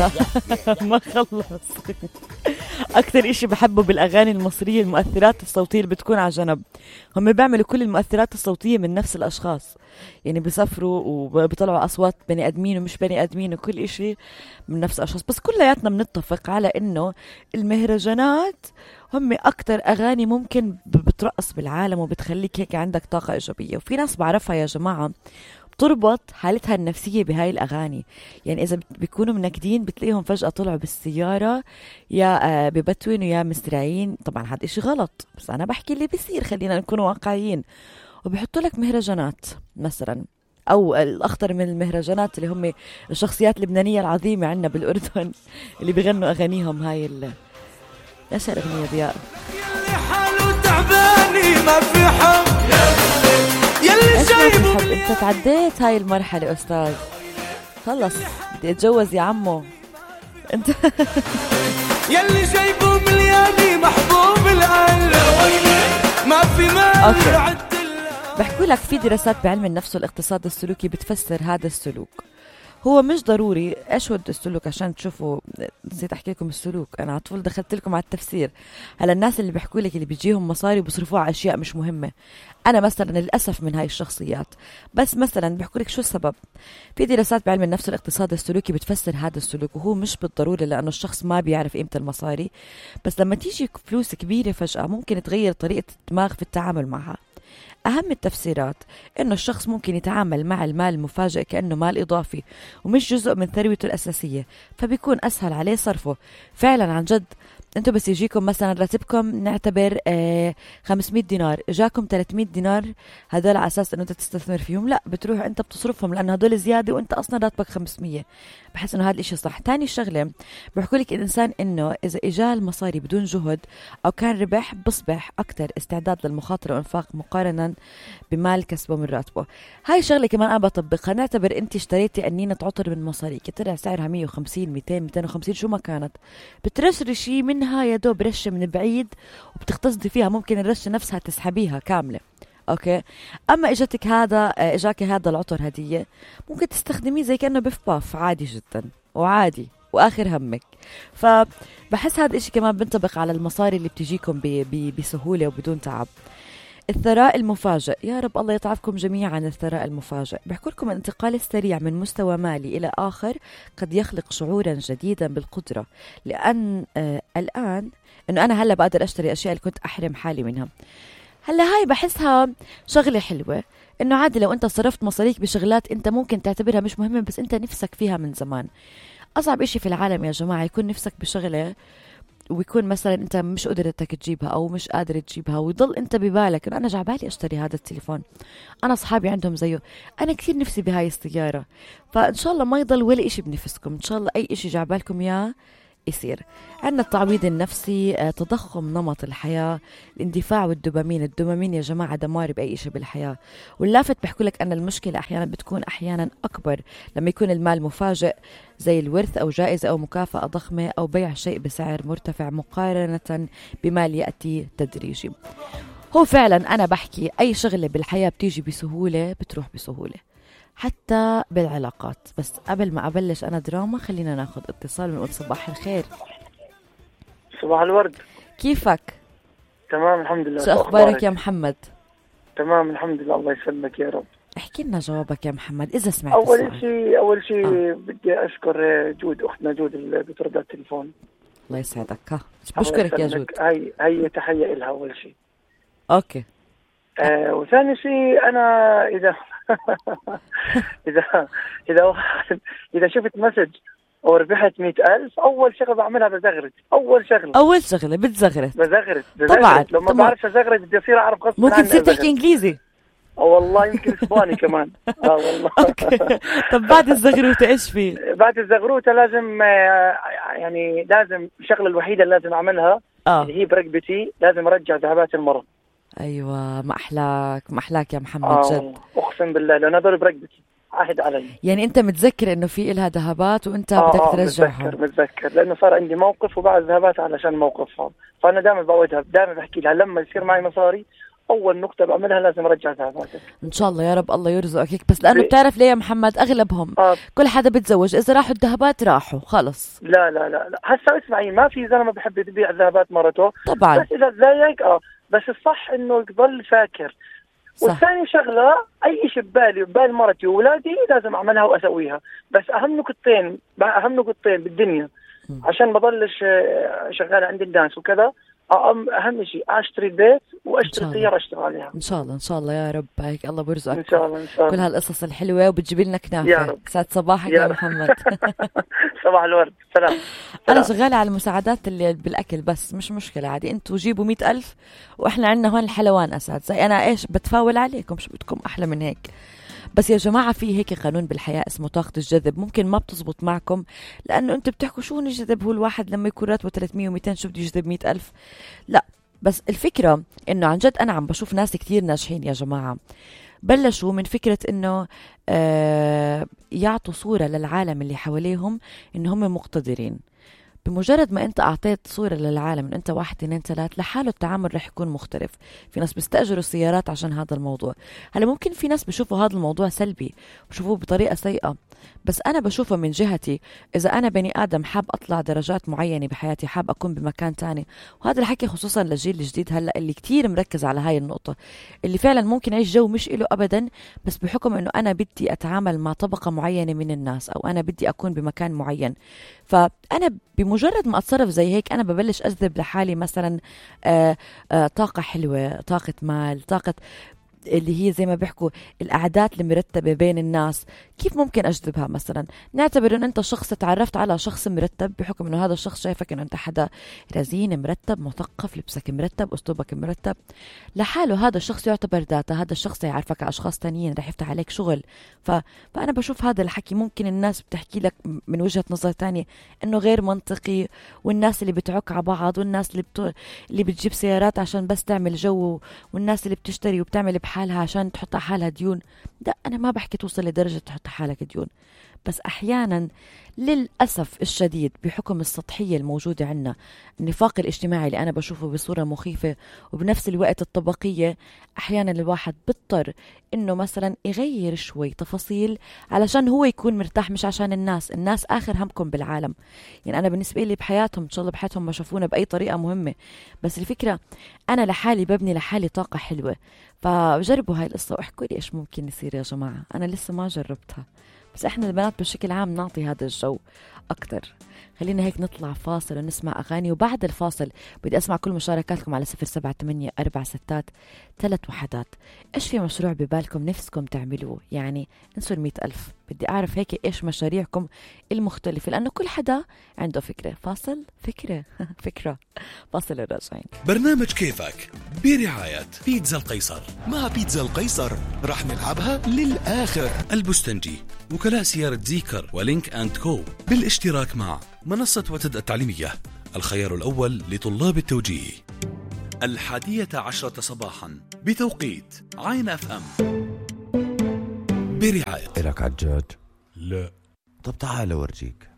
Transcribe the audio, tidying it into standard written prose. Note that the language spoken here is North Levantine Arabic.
لسه ما خلص. أكثر إشي بحبه بالأغاني المصرية المؤثرات الصوتية اللي بتكون على جنب. هم بيعملوا كل المؤثرات الصوتية من نفس الأشخاص، يعني بيسافروا وبيطلعوا أصوات بني أدمين ومش بني أدمين وكل إشي من نفس الأشخاص. بس كلياتنا بنتفق على إنه المهرجانات هم أكتر أغاني ممكن بترقص بالعالم وبتخليك هيك عندك طاقة إيجابية. وفي ناس بعرفها يا جماعة بتربط حالتها النفسية بهاي الأغاني، يعني إذا بيكونوا منكدين بتلاقيهم فجأة طلعوا بالسيارة يا ببتونوا يا مسرعين. طبعا هذا إشي غلط، بس أنا بحكي اللي بيصير، خلينا نكون واقعيين. وبيحطوا لك مهرجانات مثلا، أو الأخطر من المهرجانات اللي هم الشخصيات اللبنانية العظيمة عنا بالأردن اللي بيغنوا أغانيهم هاي إيش الأغنية ضياء؟ يلي حاله تعباني ما في حب، يلي شايفه حب. انت تعديت هاي المرحلة أستاذ، خلص بدي أتجوز يا عمو انت. يلي جايبه ملياني محبوب القلب، ما في ما يعد. بحكوا لك في دراسات بعلم النفس والاقتصاد السلوكي بتفسر هذا السلوك. هو مش ضروري ايش ود السلوك عشان تشوفوا. نسيت احكي لكم السلوك، انا على طول دخلت لكم على التفسير. هلا الناس اللي بيحكوا لك اللي بيجيهم مصاري وبصرفوها على اشياء مش مهمه، انا مثلا للاسف من هاي الشخصيات. بس مثلا بيحكوا لك شو السبب. في دراسات بعلم النفس والاقتصاد السلوكي بتفسر هذا السلوك، وهو مش بالضروره لانه الشخص ما بيعرف قيمه المصاري، بس لما تيجي فلوس كبيره فجاه ممكن تغير طريقه الدماغ في التعامل معها. أهم التفسيرات إنه الشخص ممكن يتعامل مع المال المفاجئ كأنه مال إضافي ومش جزء من ثروته الأساسية، فبيكون أسهل عليه صرفه. فعلا عن جد انتوا بس يجيكم مثلا راتبكم نعتبر 500 دينار، جاكم 300 دينار هدول على اساس انه انت تستثمر فيهم، لا بتروح انت بتصرفهم لانه هدول زياده وانت اصلا راتبك 500. بحس انه هذا الاشي صح. تاني شغله بحكوا لك الانسان انه اذا اجاه المصاري بدون جهد او كان ربح بصبح اكثر استعداد للمخاطره والانفاق مقارنه بمال كسبه من راتبه. هاي شغله كمان انا بطبقها. نعتبر انت اشتريتي قنينه عطر من مصاريك طلع سعرها 150 200 250 شو ما كانت، بترشرشي منها يا دوب رشة من بعيد وبتختصدي فيها، ممكن الرشة نفسها تسحبيها كاملة. اوكي. اما اجاك هذا العطر هدية ممكن تستخدميه زي كأنه بف باف عادي جدا وعادي واخر همك. فبحس هذا الاشي كمان بنطبق على المصاري اللي بتجيكم بسهولة وبدون تعب. الثراء المفاجئ، يا رب الله يطعفكم جميعا. الثراء المفاجئ بحكوا لكم الانتقال السريع من مستوى مالي إلى آخر قد يخلق شعورا جديدا بالقدرة، لأن الآن أنه أنا هلأ بقدر أشتري أشياء اللي كنت أحرم حالي منها. هلأ هاي بحسها شغلة حلوة، أنه عادي لو أنت صرفت مصاريك بشغلات أنت ممكن تعتبرها مش مهمة بس أنت نفسك فيها من زمان. أصعب إشي في العالم يا جماعة يكون نفسك بشغلة ويكون مثلا انت مش قدرتك تجيبها او مش قادر تجيبها، ويضل انت ببالك انه انا جعبالي اشتري هذا التليفون، انا اصحابي عندهم زيه، انا كثير نفسي بهاي السيارة. فان شاء الله ما يضل ولا اشي بنفسكم، ان شاء الله اي اشي جعبالكم يا يصير. عندنا التعويض النفسي، تضخم نمط الحياة، الاندفاع والدوبامين. الدوبامين يا جماعة دمار بأي شيء بالحياة. واللافت بحكوا لك أن المشكلة أحيانا بتكون أحيانا أكبر لما يكون المال مفاجئ زي الورث أو جائزة أو مكافأة ضخمة أو بيع شيء بسعر مرتفع مقارنة بمال يأتي تدريجي. هو فعلا أنا بحكي أي شغلة بالحياة بتيجي بسهولة بتروح بسهولة، حتى بالعلاقات. بس قبل ما أبلش أنا دراما خلينا ناخد اتصال ونقول صباح الخير. صباح الورد. كيفك؟ تمام الحمد لله. شو أخبارك يا محمد؟ تمام الحمد لله الله يسلمك يا رب. احكي لنا جوابك يا محمد إذا سمعت أول شيء بدي أشكر جود أختنا جود اللي بترد التليفون. الله يسعدك. بشكرك يا جود. هي تحية إلها أول شيء. أوكي. وثاني شيء أنا إذا شفت مسج وربحت 100,000 أول شغلة بعملها بزغرت. أول شغلة بزغرت طبعا. لو ما بعرفش أزغرت بدي أصير أعرف غصب ممكن تصير تحكي إنجليزي. والله يمكن إسباني كمان. والله. أوكي. طب بعد الزغروتة إيش في؟ بعد الزغروتة لازم يعني لازم الشغلة الوحيدة اللي لازم أعملها اللي هي برقبتي، لازم أرجع ذهبات المرة. أيوة ما أحلاك يا محمد جد. أقسم بالله لأن هذول برقبتي عهد علي. يعني أنت متذكر إنه في إلها ذهبات وأنت بدك ترجعهم؟ متذكر لأنه صار عندي موقف وبعد ذهبات علشان موقفها، فأنا دائما بعودها، دائما بحكي لها لما يصير معي مصاري اول نقطه بعملها لازم ارجع ذهباتك. ان شاء الله يا رب الله يرزقك هيك. بس لانه بتعرف ليه يا محمد اغلبهم كل حدا بتزوج اذا راحوا الذهبات راحوا خلص. لا هسه اسمعي، ما في زلمه بحب يبيع ذهبات مرته طبعا، بس اذا تضايق بس الصح انه يضل فاكر. والثاني شغله اي شيء ببال مرتي واولادي لازم اعملها واسويها، بس اهم نقطتين بالدنيا عشان ما ضلش شغاله عند الناس وكذا. اهم شيء اشتري بيت واشتري سياره اشتغل عليها. ان شاء الله يا رب هيك الله بيرزقك ان شاء الله كل هالقصص الحلوه وبتجيب لنا كنافه. سعد صباحك يا محمد. صباح الورد. سلام. انا شغاله على المساعدات اللي بالاكل بس مش مشكله عادي، انتوا جيبوا 100,000 واحنا عندنا هون الحلوان اسعد. زي انا ايش بتفاول عليكم، شو بدكم احلى من هيك؟ بس يا جماعة في هيك قانون بالحياة اسمه طاقة الجذب. ممكن ما بتزبط معكم لأنه أنتوا بتحكوا شو نجذب، هو الواحد لما يكون راتبه 300 و200 شو بده يجذب 100,000؟ لا، بس الفكرة إنه عن جد أنا عم بشوف ناس كتير ناجحين يا جماعة بلشوا من فكرة إنه يعطوا صورة للعالم اللي حواليهم إنه هم مقتدرين. بمجرد ما انت اعطيت صورة للعالم ان انت 1 2 3 لحاله التعامل رح يكون مختلف. في ناس بيستأجروا السيارات عشان هذا الموضوع. هلا ممكن في ناس بيشوفوا هذا الموضوع سلبي بشوفوه بطريقة سيئة، بس انا بشوفه من جهتي اذا انا بني ادم حاب اطلع درجات معينة بحياتي، حاب اكون بمكان تاني. وهذا الحكي خصوصا للجيل الجديد هلا اللي كتير مركز على هاي النقطة، اللي فعلا ممكن يعيش جو مش إله ابدا بس بحكم انه انا بدي اتعامل مع طبقة معينة من الناس او انا بدي اكون بمكان معين. فانا بمجرد ما اتصرف زي هيك انا ببلش اجذب لحالي مثلا طاقة حلوة، طاقة مال، طاقة اللي هي زي ما بيحكوا القعدات المرتبة بين الناس. كيف ممكن أجذبها؟ مثلا نعتبر أن أنت شخص تعرفت على شخص مرتب بحكم أنه هذا الشخص شايفك أنه أنت حدا رزين مرتب مثقف، لبسك مرتب، أسلوبك مرتب، لحاله هذا الشخص يعتبر داتا. هذا الشخص يعرفك على أشخاص تانيين رح يفتح عليك شغل. فأنا بشوف هذا الحكي ممكن الناس بتحكي لك من وجهة نظر تانية أنه غير منطقي، والناس اللي بتعك على بعض، والناس اللي بتجيب سيارات عشان بس تعمل جو، والناس اللي بتشتري وبتعمل بحالها عشان تحط على حالها ديون. لا، أنا ما بحكي توصل لدرجة تحط حالك ديون، بس أحيانا للأسف الشديد بحكم السطحية الموجودة عنا، النفاق الاجتماعي اللي أنا بشوفه بصورة مخيفة، وبنفس الوقت الطبقية، أحيانا الواحد بيضطر إنه مثلا يغير شوي تفاصيل علشان هو يكون مرتاح، مش عشان الناس آخر همكم بالعالم. يعني أنا بالنسبة لي بحياتهم إن شاء الله بحياتهم ما شافونا بأي طريقة مهمة، بس الفكرة أنا لحالي ببني لحالي طاقة حلوة. فجربوا هاي القصة واحكوا لي إيش ممكن يصير يا جماعة. أنا لسه ما جربتها، بس إحنا البنات بشكل عام نعطي هذا الجو أكتر. خلينا هيك نطلع فاصل ونسمع أغاني، وبعد الفاصل بدي أسمع كل مشاركاتكم على 078-463-3 إيش في مشروع ببالكم نفسكم تعملوه؟ يعني انسوا 100,000، بدي أعرف هيك إيش مشاريعكم المختلفة، لأنه كل حدا عنده فكرة. فاصل فكرة فاصل الراجعين. برنامج كيفك برعاية بيتزا القيصر. مع بيتزا القيصر رح نلعبها للآخر. البستنجي، وكلاء سيارة زيكر ولينك أند كو، بالاشتراك مع منصة وتد التعليمية، الخيار الأول لطلاب التوجيه. 11 صباحا بتوقيت عين FM برعاية. إلك عجاج؟ لا. طب تعال أورجيك.